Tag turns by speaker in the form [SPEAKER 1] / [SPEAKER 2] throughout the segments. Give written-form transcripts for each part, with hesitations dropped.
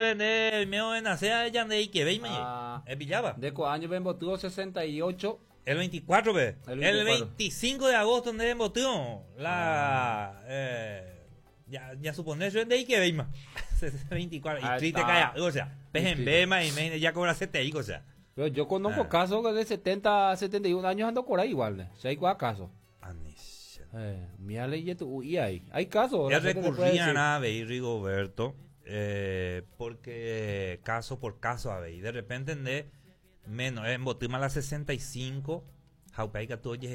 [SPEAKER 1] Nde oimérõ renase ñande ikevéima ñe.
[SPEAKER 2] Ah.
[SPEAKER 1] Epilláva.
[SPEAKER 2] Nde ko áñope embotývo 68.
[SPEAKER 1] El 24 pe.
[SPEAKER 2] El
[SPEAKER 1] El
[SPEAKER 2] 24.
[SPEAKER 1] 25 de agosto nde embotývo la
[SPEAKER 2] Ah.
[SPEAKER 1] eh, ya, ya supone yo nde ikevéima. 24 y
[SPEAKER 2] Ah,
[SPEAKER 1] triste
[SPEAKER 2] está.
[SPEAKER 1] calla, o sea, pejembéma y me ya cobra CTI, o sea.
[SPEAKER 2] Pero yo conozco
[SPEAKER 1] Ah.
[SPEAKER 2] casos que de 70, 71 años ando por ahí igual. ¿ne? Si hay casos.
[SPEAKER 1] Anis.
[SPEAKER 2] Eh, mira ley tu y ahí. Hay casos.
[SPEAKER 1] Ya
[SPEAKER 2] la gente te puede
[SPEAKER 1] recurrían
[SPEAKER 2] decir.
[SPEAKER 1] a Bey Rigoberto eh, porque caso por caso a Bey. De repente de menos, en Botima la 65, Jaupaika tu oye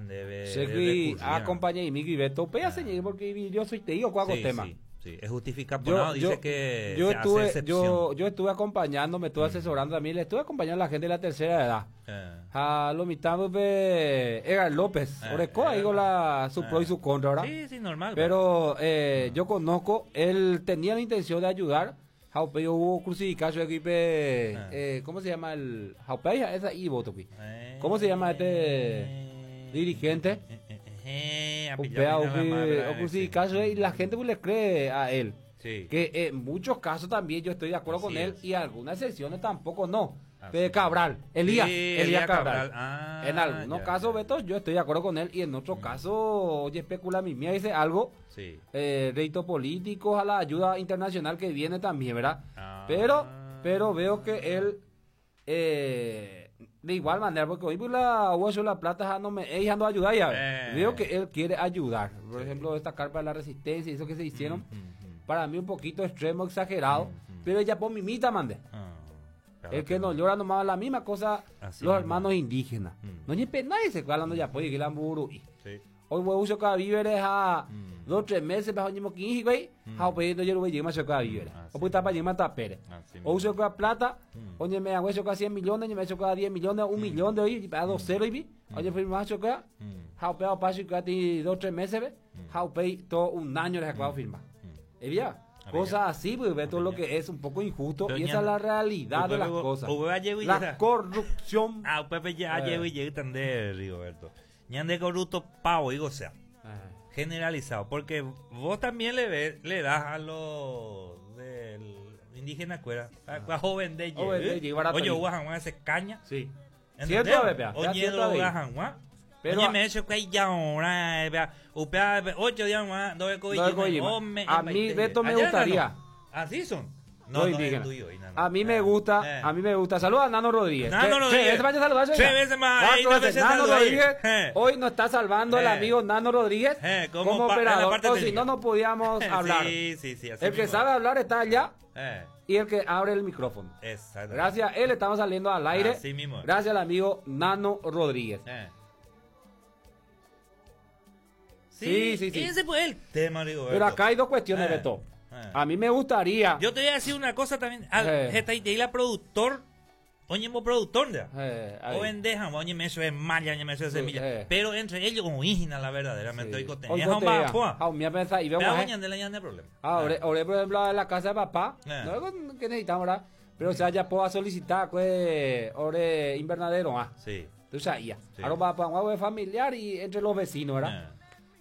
[SPEAKER 1] debe
[SPEAKER 2] Sé que acompañé y Miki Beto, pega señor, porque yo soy te digo cuál
[SPEAKER 1] sí,
[SPEAKER 2] tema.
[SPEAKER 1] Sí, sí, es justificado.
[SPEAKER 2] Yo,
[SPEAKER 1] no, dice
[SPEAKER 2] yo-
[SPEAKER 1] que
[SPEAKER 2] yo
[SPEAKER 1] se hace
[SPEAKER 2] estuve,
[SPEAKER 1] excepción.
[SPEAKER 2] yo, yo estuve acompañando, me estuve asesorando también, le estuve acompañando a la gente de la tercera edad.
[SPEAKER 1] Eh,
[SPEAKER 2] A lo mitad de Edgar López,
[SPEAKER 1] Eh,
[SPEAKER 2] Oreco, ahí con la, su pro y su contra, ¿verdad?
[SPEAKER 1] Sí, sí, normal.
[SPEAKER 2] Pero eh, yo conozco, él tenía la intención de ayudar. Jaupey hubo crucificado su equipo. Eh, ¿Cómo se llama el Jaupey? Esa y Botoqui.
[SPEAKER 1] Eh,
[SPEAKER 2] ¿Cómo se llama este dirigente?
[SPEAKER 1] Eh, eh, eh, a
[SPEAKER 2] Upea,
[SPEAKER 1] pillar la madre,
[SPEAKER 2] o
[SPEAKER 1] sí.
[SPEAKER 2] crucificado y la gente pues, le cree a él.
[SPEAKER 1] Sí.
[SPEAKER 2] Que en muchos casos también yo estoy de acuerdo
[SPEAKER 1] Así
[SPEAKER 2] con él
[SPEAKER 1] es.
[SPEAKER 2] y algunas excepciones tampoco no.
[SPEAKER 1] Así
[SPEAKER 2] Pero
[SPEAKER 1] es.
[SPEAKER 2] Cabral, Elías,
[SPEAKER 1] Sí,
[SPEAKER 2] Elías
[SPEAKER 1] Elías
[SPEAKER 2] Cabral.
[SPEAKER 1] Cabral. Ah,
[SPEAKER 2] en algunos
[SPEAKER 1] ya,
[SPEAKER 2] casos,
[SPEAKER 1] ya.
[SPEAKER 2] Beto, yo estoy de acuerdo con él y en otros casos, oye, especula mi mía, dice algo
[SPEAKER 1] Sí.
[SPEAKER 2] eh, réditos políticos, a la ayuda internacional que viene también, ¿verdad?
[SPEAKER 1] Ah.
[SPEAKER 2] Pero, pero veo que él, eh, de igual manera, porque hoy por la hueso la plata ya no me, ella no ayuda ya.
[SPEAKER 1] Eh.
[SPEAKER 2] Veo que él quiere ayudar. Por ejemplo, esta carpa de la resistencia y eso que se hicieron,
[SPEAKER 1] Mm, mm,
[SPEAKER 2] para mí un poquito extremo, exagerado,
[SPEAKER 1] Mm, mm.
[SPEAKER 2] pero ella por mimita, mande.
[SPEAKER 1] Ah, claro
[SPEAKER 2] El que no llora nomás la misma cosa,
[SPEAKER 1] Así
[SPEAKER 2] los
[SPEAKER 1] mismo.
[SPEAKER 2] hermanos indígenas.
[SPEAKER 1] Mm.
[SPEAKER 2] No ni nadie se cuál ya puede que la muru.
[SPEAKER 1] Sí.
[SPEAKER 2] Hoy voy a usar víveres a
[SPEAKER 1] Mm.
[SPEAKER 2] dos tres meses bajo ñimo 15 güey. Ja pues no yo voy a llegar a víveres.
[SPEAKER 1] Así
[SPEAKER 2] O pues tapa llegar a Pérez.
[SPEAKER 1] Así
[SPEAKER 2] O
[SPEAKER 1] mismo.
[SPEAKER 2] uso con plata,
[SPEAKER 1] Mm.
[SPEAKER 2] oye me hago eso con 100 millones, me hecho cada 10 millones, un millón de hoy, a dos cero y vi. Oye firma eso acá.
[SPEAKER 1] Mm.
[SPEAKER 2] Ja peo paso y ti dos tres meses, ve. Ja pei todo un año les acabo de firmar.
[SPEAKER 1] Mm.
[SPEAKER 2] Eh, ya. Cosas así, pues ve todo lo que es un poco injusto
[SPEAKER 1] Pero
[SPEAKER 2] y esa
[SPEAKER 1] ñan-
[SPEAKER 2] es la realidad de las
[SPEAKER 1] Upe-
[SPEAKER 2] cosas.
[SPEAKER 1] upe va llego y
[SPEAKER 2] La
[SPEAKER 1] llega.
[SPEAKER 2] corrupción.
[SPEAKER 1] Ah, Pepe ya
[SPEAKER 2] Eh.
[SPEAKER 1] llego y llego tande, Rigoberto. Ñande corrupto pavo, digo, o sea,
[SPEAKER 2] Eh.
[SPEAKER 1] generalizado. Porque vos también le ves, le das a los del indígena cuera, a joven de
[SPEAKER 2] Ah. Joven de ye, barato
[SPEAKER 1] Oye,
[SPEAKER 2] ahí.
[SPEAKER 1] guajan, ese caña.
[SPEAKER 2] Sí.
[SPEAKER 1] ¿Entendés?
[SPEAKER 2] Cierto, bebé.
[SPEAKER 1] Oye,
[SPEAKER 2] Cierto,
[SPEAKER 1] lo
[SPEAKER 2] bebé.
[SPEAKER 1] guajan, guá.
[SPEAKER 2] Pero
[SPEAKER 1] Oye,
[SPEAKER 2] a-
[SPEAKER 1] me he hecho que hay ya ahora, eh, vea, upea, ve, ocho días más, dos
[SPEAKER 2] Dos de
[SPEAKER 1] me-
[SPEAKER 2] A mí, Beto, me gustaría.
[SPEAKER 1] Así son.
[SPEAKER 2] No,
[SPEAKER 1] No, no,
[SPEAKER 2] indígena.
[SPEAKER 1] es tuyo, y nada.
[SPEAKER 2] A mí me
[SPEAKER 1] Eh,
[SPEAKER 2] gusta,
[SPEAKER 1] eh.
[SPEAKER 2] a mí me gusta. Saluda a Nano Rodríguez.
[SPEAKER 1] Nano
[SPEAKER 2] Tres-
[SPEAKER 1] Rodríguez.
[SPEAKER 2] Tres veces vaya a saludar,
[SPEAKER 1] Tres
[SPEAKER 2] oiga.
[SPEAKER 1] veces más,
[SPEAKER 2] Cuatro
[SPEAKER 1] ey, dos
[SPEAKER 2] veces.
[SPEAKER 1] veces
[SPEAKER 2] Nano
[SPEAKER 1] saluda ahí.
[SPEAKER 2] Rodríguez.
[SPEAKER 1] Eh.
[SPEAKER 2] Hoy nos está salvando el
[SPEAKER 1] Eh.
[SPEAKER 2] amigo Nano Rodríguez
[SPEAKER 1] Eh, como
[SPEAKER 2] como,
[SPEAKER 1] pa- en la
[SPEAKER 2] operador.
[SPEAKER 1] parte
[SPEAKER 2] O si
[SPEAKER 1] técnica.
[SPEAKER 2] no, no podíamos hablar.
[SPEAKER 1] Sí, sí, sí. así
[SPEAKER 2] El que
[SPEAKER 1] mismo.
[SPEAKER 2] sabe hablar está allá
[SPEAKER 1] Eh,
[SPEAKER 2] y el que abre el micrófono.
[SPEAKER 1] exacto.
[SPEAKER 2] Gracias a él estamos saliendo al aire.
[SPEAKER 1] Así mismo.
[SPEAKER 2] Gracias al amigo Nano Rodríguez.
[SPEAKER 1] Eh.
[SPEAKER 2] Sí, sí, sí.
[SPEAKER 1] Ese fue el tema, Rigoberto.
[SPEAKER 2] Pero acá hay dos cuestiones,
[SPEAKER 1] Eh.
[SPEAKER 2] Beto.
[SPEAKER 1] Eh.
[SPEAKER 2] A mí me gustaría.
[SPEAKER 1] Yo te voy a decir una cosa también. Al,
[SPEAKER 2] Eh.
[SPEAKER 1] esta idea la productor. Oye, mo productor, ya.
[SPEAKER 2] Eh, ahí.
[SPEAKER 1] O vendeja, oye, me eso es malla, oye, me eso es
[SPEAKER 2] Sí,
[SPEAKER 1] semilla.
[SPEAKER 2] eh.
[SPEAKER 1] Pero entre ellos, como hígina, la verdaderamente.
[SPEAKER 2] Sí.
[SPEAKER 1] Hoy cote-
[SPEAKER 2] Hoy
[SPEAKER 1] es un
[SPEAKER 2] cotea.
[SPEAKER 1] bajo,
[SPEAKER 2] Ah, mira, pensa, y vemos,
[SPEAKER 1] Pero
[SPEAKER 2] eh.
[SPEAKER 1] oye, ande la ñande problema.
[SPEAKER 2] Ah, ore, ore, por ejemplo, en la casa de papá,
[SPEAKER 1] Eh.
[SPEAKER 2] no es algo que necesitamos, ¿verdad? Pero o sea, ya puedo solicitar, pues, ore invernadero, ah.
[SPEAKER 1] Sí.
[SPEAKER 2] Tú sabías.
[SPEAKER 1] Sí.
[SPEAKER 2] Ahora va para un agua familiar y entre los vecinos, ¿verdad?
[SPEAKER 1] Eh.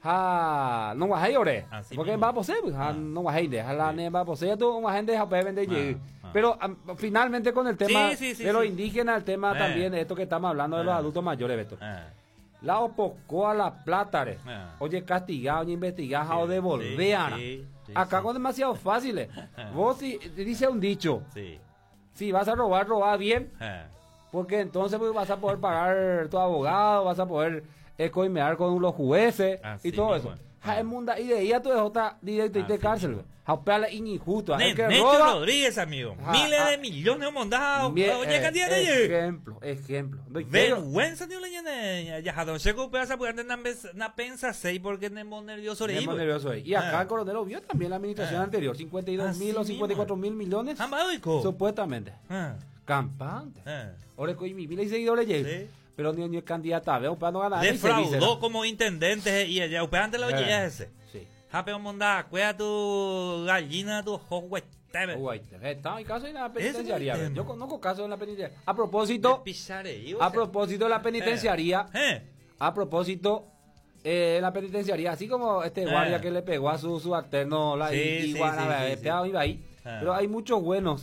[SPEAKER 2] Ah, no guajé, ore.
[SPEAKER 1] Así
[SPEAKER 2] Porque
[SPEAKER 1] mismo.
[SPEAKER 2] va a poseer, pues, ah,
[SPEAKER 1] Ah.
[SPEAKER 2] no guajé, de, la
[SPEAKER 1] Sí.
[SPEAKER 2] ne va a poseer, tú, un guajé de japé, vende,
[SPEAKER 1] Ah,
[SPEAKER 2] llegue.
[SPEAKER 1] ah.
[SPEAKER 2] Pero am, finalmente con el tema
[SPEAKER 1] Sí, sí, sí,
[SPEAKER 2] de los
[SPEAKER 1] sí.
[SPEAKER 2] indígenas, el tema
[SPEAKER 1] Eh.
[SPEAKER 2] también de esto que estamos hablando de los
[SPEAKER 1] Eh.
[SPEAKER 2] adultos mayores, Beto.
[SPEAKER 1] Eh.
[SPEAKER 2] La opocó a la plata, re.
[SPEAKER 1] Ah.
[SPEAKER 2] Oye, castigado, oye, investigado,
[SPEAKER 1] Sí,
[SPEAKER 2] o devolver.
[SPEAKER 1] sí, sí,
[SPEAKER 2] Acá
[SPEAKER 1] sí.
[SPEAKER 2] con demasiado fáciles. Vos si, dice un dicho,
[SPEAKER 1] Sí.
[SPEAKER 2] si vas a robar, roba bien,
[SPEAKER 1] Eh.
[SPEAKER 2] porque entonces pues, vas a poder pagar tu abogado, vas a poder eh, coimear con los jueces
[SPEAKER 1] Así
[SPEAKER 2] y todo
[SPEAKER 1] mismo
[SPEAKER 2] eso.
[SPEAKER 1] es.
[SPEAKER 2] Ja, es munda, y de ahí a tu dejota directo y de
[SPEAKER 1] Así
[SPEAKER 2] cárcel.
[SPEAKER 1] mismo.
[SPEAKER 2] Ja, peale injusto. El que
[SPEAKER 1] Necho
[SPEAKER 2] roba,
[SPEAKER 1] Rodríguez, amigo.
[SPEAKER 2] Ah,
[SPEAKER 1] Miles
[SPEAKER 2] ah.
[SPEAKER 1] de millones mondados.
[SPEAKER 2] mie-
[SPEAKER 1] Oye,
[SPEAKER 2] eh,
[SPEAKER 1] cantidad de
[SPEAKER 2] ejemplo, ejemplo. No, yo-
[SPEAKER 1] Vergüenza, tío, le llene. Ya, don Checo, pesa, porque antes na pensa seis porque nemo nervioso
[SPEAKER 2] Me
[SPEAKER 1] le
[SPEAKER 2] nervioso ahí. Y acá
[SPEAKER 1] Ah.
[SPEAKER 2] el coronel lo vio también la administración
[SPEAKER 1] Ah.
[SPEAKER 2] anterior, 52 mil o
[SPEAKER 1] Así
[SPEAKER 2] 54 mil millones.
[SPEAKER 1] Ambadoico.
[SPEAKER 2] Supuestamente.
[SPEAKER 1] Ah,
[SPEAKER 2] Campante.
[SPEAKER 1] ah.
[SPEAKER 2] Ahora con mi mil y seguidores llega.
[SPEAKER 1] Sí.
[SPEAKER 2] Pero ni, ni el candidato a ver, para no ganar. ni se dice,
[SPEAKER 1] Defraudó
[SPEAKER 2] ¿no?
[SPEAKER 1] como intendente y allá. Usted antes la
[SPEAKER 2] Eh.
[SPEAKER 1] oye ese.
[SPEAKER 2] Sí.
[SPEAKER 1] Jape monda, cuida tu gallina, tu johuetebe.
[SPEAKER 2] Uy, está en caso en la
[SPEAKER 1] Ese es el
[SPEAKER 2] penitenciaría.
[SPEAKER 1] tema.
[SPEAKER 2] Yo conozco casos en la penitenciaría. A propósito, a propósito de la penitenciaría,
[SPEAKER 1] Eh.
[SPEAKER 2] a propósito, eh, en la penitenciaría, así como este
[SPEAKER 1] Eh.
[SPEAKER 2] guardia que le pegó a su subalterno, la
[SPEAKER 1] Sí, sí,
[SPEAKER 2] iguana,
[SPEAKER 1] sí, sí,
[SPEAKER 2] eh,
[SPEAKER 1] sí.
[SPEAKER 2] pegado iba ahí.
[SPEAKER 1] Ah.
[SPEAKER 2] Pero hay muchos buenos.